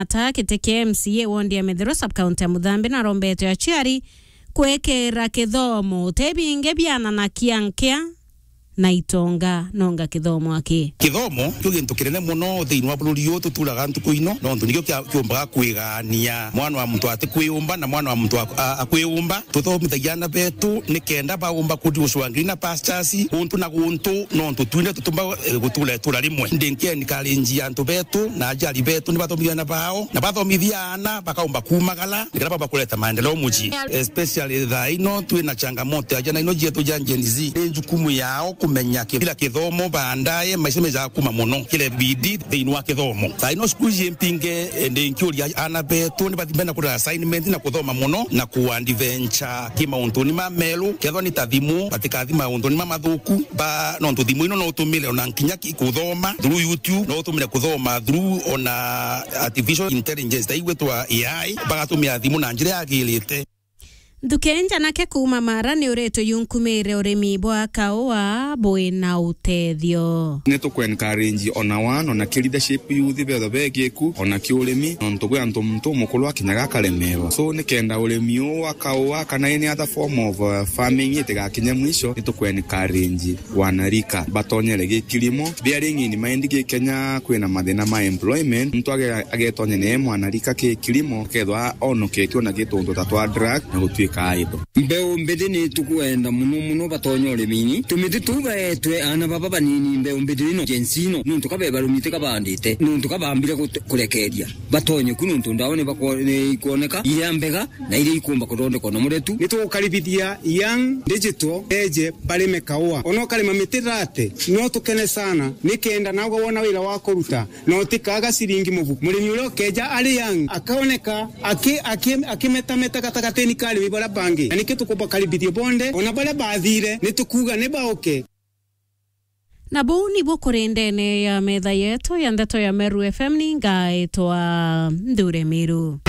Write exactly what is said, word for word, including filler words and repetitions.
Ata giti kia M C A wondi ya Methero sub-county ya Muthambi narombete aciari kwikira kithomo utebinge biana na kiankia na itonga nonga kithomo aki. Kithomo kio gintu kinene muno thiini wa bururi uyu tuturaga ntuku ino, nontu nikio kia-, kiumbaga kwigania mwana wa muntu ati kwiumba na mwana wa muntu a-, a-, akwiumba. Tuthomithagia aana betu ni kenda baumba kuthi gucwangiri na pastors guntu na guntu, nontu twine tutumba, eh, gutura itura rimwe. Ndi nki encourage antu betu na aciari betu ni bathomithie aana bao, na bathomithia aana bakaumba kumagara, nikenda baumba kureta maendeleo mucii. Especially thaa ino twina changamoto ya ciana ino cietu cia Gen Z. Ni njukumu yao kumenya ki-, kila kithomo baadaye maisha meja kuma muno. Kile bidii thiini wa kithomo. Thaa ino cukuru iji mpinge, eh, ndi nkiuria aana betu ni bathi mbere na kurera assignment na kuthoma muno na ku adventure ki mauntuni ma meru, kethwa ni ta thimu, batikathi mauntuni mamathuku, ba, nontu thimu ino no utumire ona nkinya ki-, kuthoma through YouTube, no utumire kuthoma through ona artificial intelligence, ta igwitwa A I, bagatumira thimu na njira yagirite. Nthuki njanake kuuma Mara ni uritwe yunkumire urimi bwa kaua bwina utethio. Ni tuku encourage ona wana, ona ki leadership youth betho begiku, ona ki urimi, nontu bwi antu muntu mukuru akinyaga akaremerwa. So, ni kenda urimi uu wa kaua kana any other form of, uh, farming itigakinye mwisho, ni tuku encourage wanarika batonyere gi kilimo. Bearing in mind gi Kenya kwina mathina ma employment, muntu age-, agetonya ni mwanarika ki kilimo, kethwa onoketio na gituntu ta twa drug na gutuika idle. Mbeu mbithi ni tukwenda muno muno batonye urimini. Tumiti tuu baetwe aana baba banini, mbeu mbithi ino, Gen Z ino, nuntu ka bebarumite kabandite, nuntu ka bambire gut-, kurekeria. Batonye ku nuntu ndawa ni bakwo-, ni ikwoneka iria mbega na iria ikumba kuthondekwa na muretu. Ni tugukaribithia young digital eje barime kaua. Ona ukarima miti thate, no tukene sana, ni kenda nawe wona wira wa kuruta, na utikaga ciringi mubuku. Murimi uria ukeja ari young, akaoneka aki-, aki-, akimetameta gatagatini ka arimi baria bangi. Na nikio tukubakaribithia bonthe, ona baria bathire, ni tukuga ni bauke. Na buu nibuo kuri ndene ya metha yetu ya ndeto ya Meru F M, ni ngaitwa Nthure Miru.